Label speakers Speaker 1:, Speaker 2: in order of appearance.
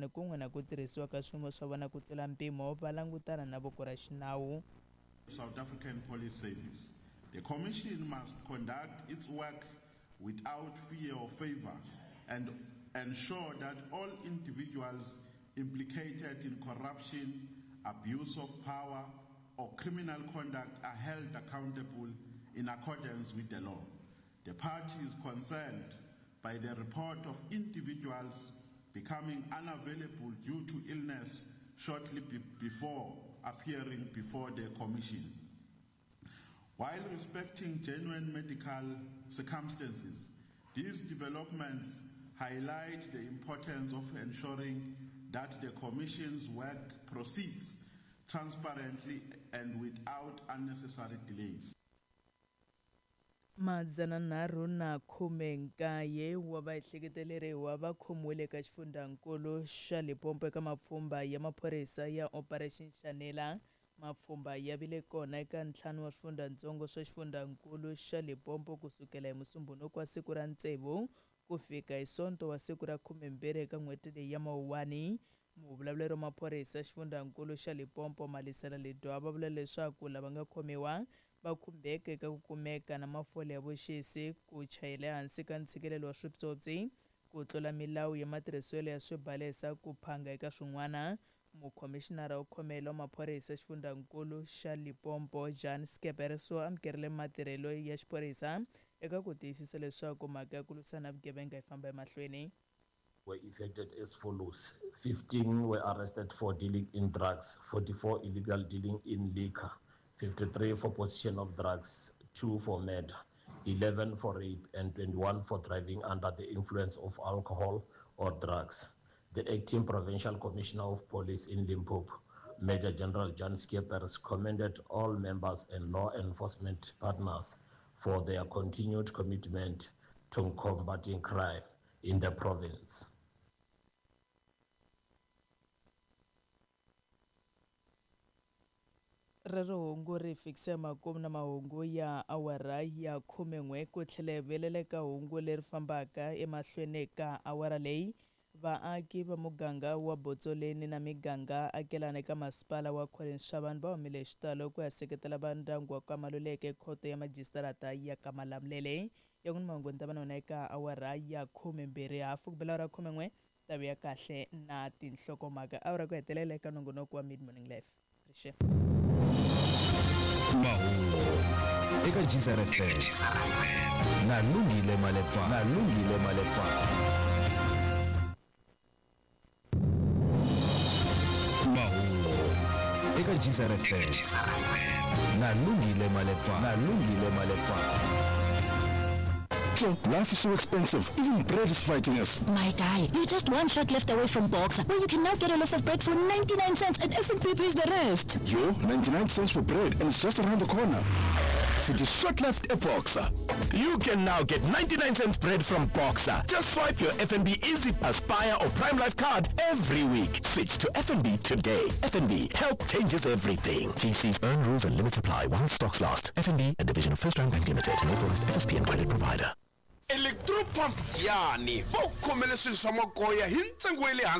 Speaker 1: vaakelani kun'we na ku tirhisiwa ka swiyimo swa vona ku tlula mpimo va langutana na voko ra xinawu.
Speaker 2: South African Police Service. The Commission must conduct its work without fear or favor and ensure that all individuals implicated in corruption, abuse of power, or criminal conduct are held accountable in accordance with the law. The party is concerned by the report of individuals becoming unavailable due to illness shortly before appearing before the Commission. While respecting genuine medical circumstances, these developments highlight the importance of ensuring that the Commission's work proceeds transparently and without unnecessary delays.
Speaker 1: 319 wa vaehleketeleriwa va khomiwile eka xifundzankulu xa Limpopo eka mapfhumba ya maphorisa ya Operation Shanela. Mapfhumba ya vile kona eka ntlhanu wa swifundzantsongo swa xifundzankulu xa Limpopo kusukela hi Musumbhunuko wa siku ra 6 ku fika hi Sonto wa siku ra 12 eka n'hweti leyi ya Mawuwani. Muvulavuleri wa maphorisa xifundzankulu xa Limpopo Malisela Ledwaba va vula leswaku lava nga khomiwa va khumbeka eka ku kumeka na mafole ya vuxisi, ku chayela ehansi ka ntshikelelo wa swipyopyi, ku tlula milawu ya matirhiselo ya swibalesa, ku phanga eka swin'wana. Mukhomixinara wo khomela wa maphorisa xifundzankulu xa Limpopo Jan Scheepers u amukerile matirhelo ya xiphorisa eka ku tiyisisa leswaku mhaka ya ku lwisana na vugevenga yi famba emahlweni.
Speaker 3: Were effected as follows: 15 were arrested for dealing in drugs, 44 illegal dealing in liquor, 53 for possession of drugs, 2 for murder, 11 for rape, and 21 for driving under the influence of alcohol or drugs. The acting provincial commissioner of police in Limpopo, Major General Jan Scheepers, commended all members and law enforcement partners for their continued commitment to combating crime in the province.
Speaker 1: Rero hungu ri fikisa makumu na mahungu ya awara ya 11 ku tlhela hi vuyelela eka hungu leri fambaka emahlweni ka awara leyi. Vaaki va muganga wa Botsoleni na miganga akelana eka masipala wa Collins Chabane va humile hi xitalo ku ya seketela va ndyangu wa ka Maluleke khoto ya majisitarata ya ka Malamulele. Ya n'wini mahungu ni ta va na wona eka awara ya 12 hafu ku bela awara 11 tavi ya kahle na tinhlokomhaka awara ku hetelela eka nongonoko wa Mid Morning Live. Rixe.
Speaker 4: Mahungu eka Geyser FM na Lungile Malepa, na Lungile Malepa. Mahungu eka Geyser FM na Lungile Malepa, na Lungile Malepa.
Speaker 5: Life is so expensive. Even bread is fighting us.
Speaker 6: My guy, you're just one shot left away from Boxer, where you can now get a loaf of bread for 99 cents and FNB pays the rest.
Speaker 5: Yo, 99 cents for bread, and it's just around the corner. So the shot left at Boxer.
Speaker 7: You can now get 99 cents bread from Boxer. Just swipe your FNB Easy Aspire or Prime Life card every week. Switch to FNB today. FNB, help changes everything. GC's earn rules and limits apply while stocks last. FNB, a division of First Round Bank Limited, an authorized FSP and credit provider.
Speaker 8: Electropump Giyani va ku khomele swilo swa magoya hi ntsengo wa le hansi.